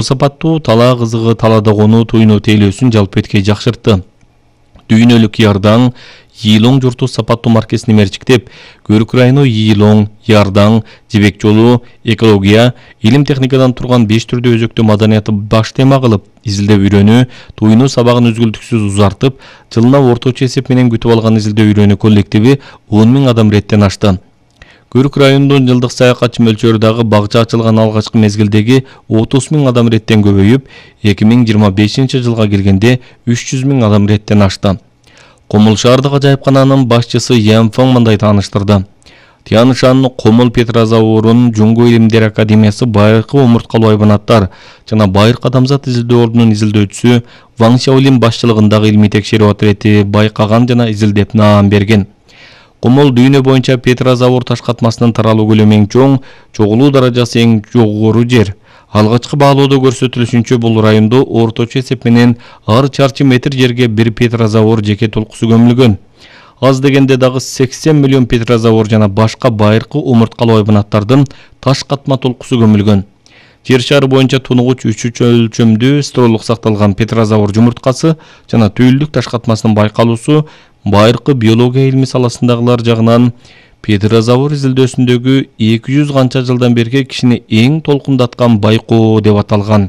Сапаттуу тала кызыгы талада конуу туйну тейлөөсүн жалпы эткей жакшыртты. Дүйнөлүк Ярдаң Йилоң журту сапаттуу маркесин мерчиктеп, Көрүк району Йилоң, Ярдаң, Жибек жолу, экология, илим техникадан турган 5 түрдүү өзөктүү маданиятты баш тема кылып, изилдөө үйрөнүү, туйну сабагын үзгүлтүксүз узартып, жылына орточо эсеп менен күтүп алган изилдөө үйрөнүү коллективи 10 000 адам реттен ашты. Көрүк районунун жылдык саякатчы мөлчөрү дагы багча ачылган алгачкы мезгилдеги 30 000 адам реттен көбөйүп, 2025 жылга келгенде 300 000 адам реттен ашты. Комул шаардык ажайыпкананын башчысы Ямфоң мындай тааныштырды. Тяншан Комул Петрозаводунун Жуңго илимдер академиясы байыркы омурткалуу айбанаттар жана байыркы адамзат изилдөө ордунун изилдөөчүсү Ваң Шаолин башчылыгындагы илимий текшерүү отряди байкаган жана изилдеп наам берген. Комул дүйнө боюнча Петрозавод таш катмасынын таралуу көлөмү эң чоң, чогулуу даражасы эң жогору жер. Алгачкы баалоодо көрсөтүлүшүнчө бул райондо орточо эсеп менен ар чарчы метр жерге бир Петрозавод жеке толкусу көмүлгөн. Аз дегенде дагы 80 миллион Петрозавод жана башка байыркы омурткалуу айбанаттардын таш катма толкусу көмүлгөн. Жер шары боюнча тунугуч 3 өлчөмдүү стролук сакталган Петрозавод жумурткасы жана түйүлдүк таш катмасынын байкалуусу байыркы биология илми саласындагылар жагынан Петрозавод изилдөөсүндөгү 200 канча жылдан берки кишини эң толкундаткан байкоо деп аталган.